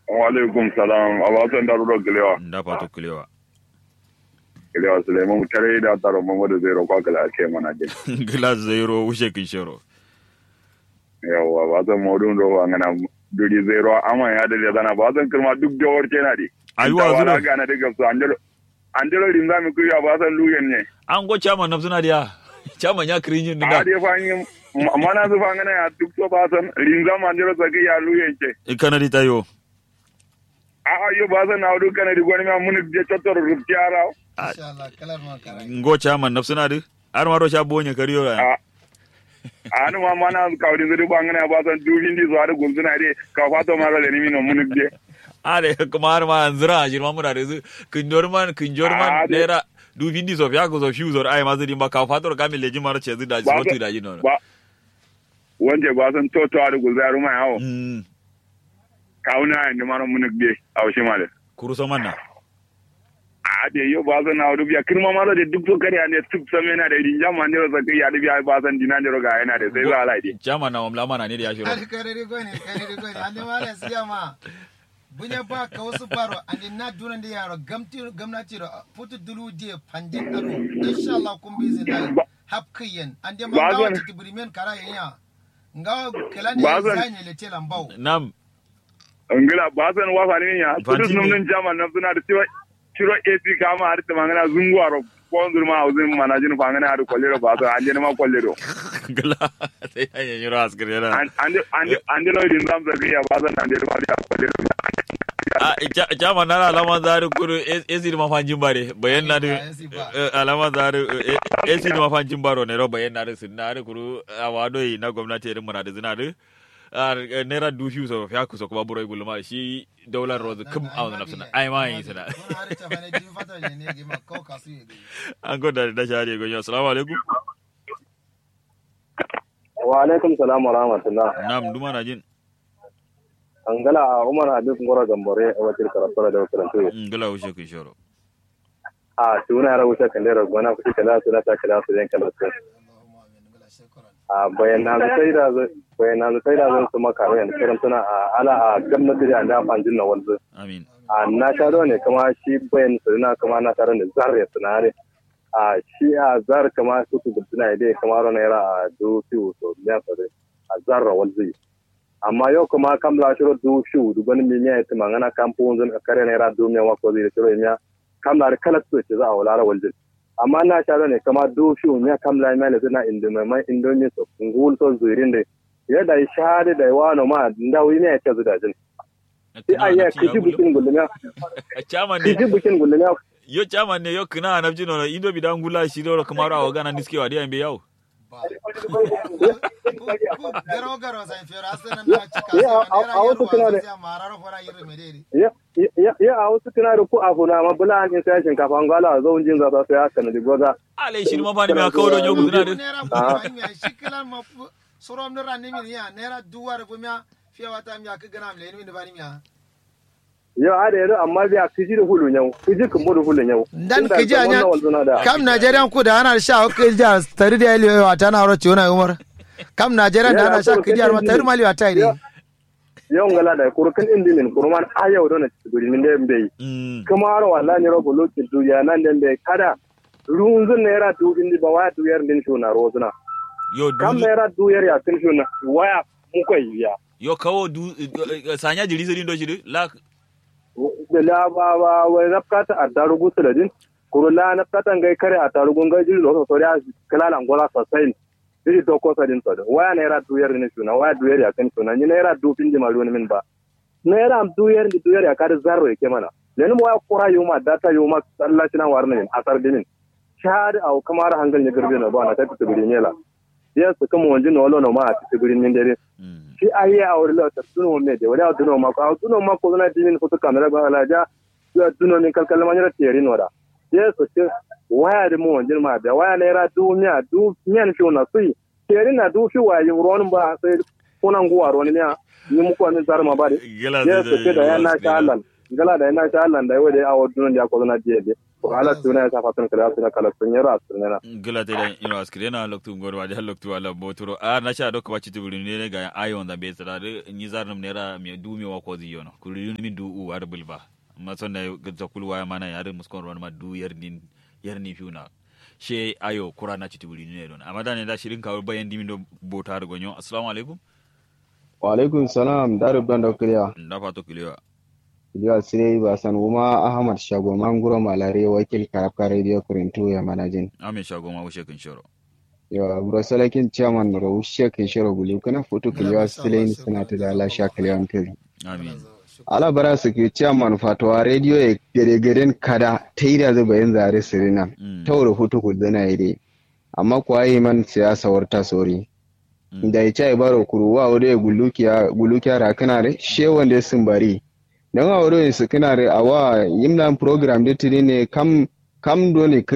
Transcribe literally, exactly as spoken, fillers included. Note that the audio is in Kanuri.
Wa'alaikum salam. Abasan da rudo kilewa. Nda fato kilewa. Kilewa Sulaiman tare da taro mama da zairo kwa kala ke mana je. Gila zairo wushe kin shero. Yawa abasan modun do wa ngana duri zairo amma ya da zana abasan kirma duk da warce na di. Ayuwa zuro. Gana da gafsu andero andero rinza mi kuya abasan luyen ne. An go chairman nafsuna diya. Chairman ya kirinjin a dinga. Dai fa ni mana su fa ngana ya duk so abasan rinza ma andero saki ya luyen ce. Ikana di tayo. A'a yo ba zan na wadu kana di gwani ma muni je cottor rubti ara. Inshallah kalar ma kara. Ngo chairman nafsuna di. Har ma ro sha bonye kariyo ya. Ani ma mana kawdin zuri bangana ba zan dubin di zuwa da gunzuna de ka fato ma ro da ni mino muni je. Are kuma har ma anzura shirma muna da zu kinjor man kinjor man naira dubin di sofiya ku sofiyu zor ai ma zuri ba ka fato ka mi leji ma ro ce zu da ji sotu da ji no. Wanje ba zan toto a da gunzuna ruma yawo. Kawuna ya ndima no munuk de. Aushi male. Kuru so manna. A de yo ba zan na wadu biya kirma ma de duk so kare ande tuk so mena de rinja ma ndero so kai ya de biya ba zan dina ndero ga yana de sai za lai de. Jama na wamla mana ne da ya shiro. Kare ri gone kare ri gone ande ma da siya ma. Bunya ba ka wasu baro ande na duna de yaro gamti gamnati ro futu dulu de pandin aro. Inshallah kun bi zin lai. Hapkiyen ande ma ba zan tibirimen kara yanya. Ngawo kala ne zanye le tela mbawo. Nam. Ngila ba san wa fani ya. Kudus num nun jama nam suna da tiwa. Tiro A P kama har tuma ngana zungu aro. Ko zurma uzin manajin fa ngana har kollero ba san ande ma kollero. Ngila sai ya yi ro askar yana. Ande ande ande lo din zam zaka ya ba san ande ma da kollero. A jama nara alama zaru kuru esi ma fanjin bare bayan na du. Alama zaru esi ma fanjin baro ne ro bayan na du sun na du kuru. Awa doi na gwamnati irin muna da zina du. Naira dubu fiye so fiya kusa kuma buroi gulma shi daular rozu kum a wani nafsuna ai ma yi suna. An goda da shari gonyo assalamu alaikum. Wa alaikum salam wa rahmatullah. Nam duma na jin. Angala umar habib ngoro gambore wakil karasara da wakil tuyo. Ngala wuce kun shoro. A tuna yara wuce kandero gona kuci kala suna ta kala su yan kala su. A bayyana zu sai da zu bayyana zu sai da zan su makaro yan kiran suna a ala a gamnati da anda fanjin na wanzu. Amin. A na sha ne kuma shi bayan su na kuma na sha ne zar ya suna ne. A shi a zar kuma su su suna dai kuma ro naira a du fiu so miya so dai a zar ra wanzu. Amma yau kuma kam la shiro du fiu du gani mi miya ya tuma ngana kam fu wanzu kare naira du miya wa ko zai shiro miya. Kam la da kala su ce za a wala ra waljin. Amma na sha ne kama du fiu miya kam la miya le zina indu mai mai indu mi so ngul so zuirin de. Ya da sha de da wa no ma nda wi miya ya ce zu da jin. Ti ayya kiji bukin gullumiya. Chairman ne. Kiji bukin gullumiya. Yo chairman ne yo kina anabji no indo bi da ngula shi do kamaro awo gana niske wa de ambe yawo. Garo garo sai fero asana na cika. Ya a wasu tunare. Ya a wasu tunare ku afu na ma bula an isa shinkafa ngala zo unjin za ta sai aka na digoza. Ale shi ma fani ma kawo don yogu zuna din. Shi kilan ma surom ni ranni min ya naira duwar gumiya. Fiye wata miya ka gana amle ni min bani miya. Yo ade do amma biya kiji do hulu nyau kiji kumbo do hulu nyau. Dan kiji anya kam najeriya ku da ana sha kiji a tari da yali yo ata na ro ciwo na umar. Kam najeriya da ana sha kiji a ma tari mali wata ne. Yo ngala da kuru kan indi min kuru man ayau do na guri min da mbe. Kuma ro wallahi ro bulu ki du ya nan da mbe kada. Runzun naira du indi ba waya du yar din shuna rozuna. Yo kam naira du yar ya kin shuna waya. Mukoi ya. Yo kawo du sanya jiri siri ndo shiri la. La ba ba wai nafkata attarugu suladin. Kuru la nafkata ngai kare attarugu ngai jiri lo so soriya. Kilala ngola sasain. Jiri doko sadin sado waya naira duyar ni suna waya duyar ya kan suna ni naira du fin jima lu ni min ba. Naira am duyar ni duyar ya kadi zarro yake mana. Lenin waya kura yuma data yuma. Sallaci na warna min asar dimin. Shahadi awo kamaro hangal ni girbi no ba na tafi tibiri nyela. Yesu kǝm wonji nolo noma ati tǝgǝrin mindedin. Shi ahiye awo dǝ lo tartǝno me de wari awo dǝno mako awo dǝno mako dǝna dimin futu kamera gwa alaja. Yo dǝno min kalkal ma nyiro terin wada. Yesu kǝ waya dǝ mu wonjin ma biya waya naira duwu miya duwu miyan fiwu na suyi. Terin na duwu fiwu waya yim ruwonǝm ba sai. Kuna nguwa ruwonǝm ya. Ni muko amin zarma ba de. Yesu kǝ da ya na sha allan. Ngala da ya na sha allan da yi wade awo dǝno diya ko dǝna diye de. Wahala tuna ya sa fatun kala tuna kala tun yara tun yana. Gila te da ino askire na loktu ngor wa da loktu wala boturo a na sha dokka ba citu buri ne ga ayo nda be tsara de ni zar num nera mi du mi wa ko zi yono kuri min du u war bulba. Amma son da ga zakul waya mana ya de muskon ron ma du yar din yar ni fiuna. She ayo kura na citu buri ne don amma da ne da shirin kawo bayan dimin do bota da gonyo. Assalamu alaikum. Wa alaikum salam da rubdan da kiliya. Da fato kiliya. Kiliya sire ba san wuma ahmad shago manguro malare wakil karabka radio kurintu ya manajin. Amin shago ma wushe kin shoro. Yo bro salakin chairman ro wushe kin shoro gulu kana foto kiliya sire ni sana ta da la sha kiliya kiri. Amin. Ala bara su ke chairman fatuwa radio ya gare garen kada ta yi da zuba yin zare sirina. Tauro foto ku zana yi dai. Amma kuwa yi man siyasa warta sori. Da ya cai baro kuru wa wado ya gulukiya gulukiya ra kana re she wanda ya sumbari. Dan wa wado ya su kana re awa yimlan program da tiri ne kam kam do ne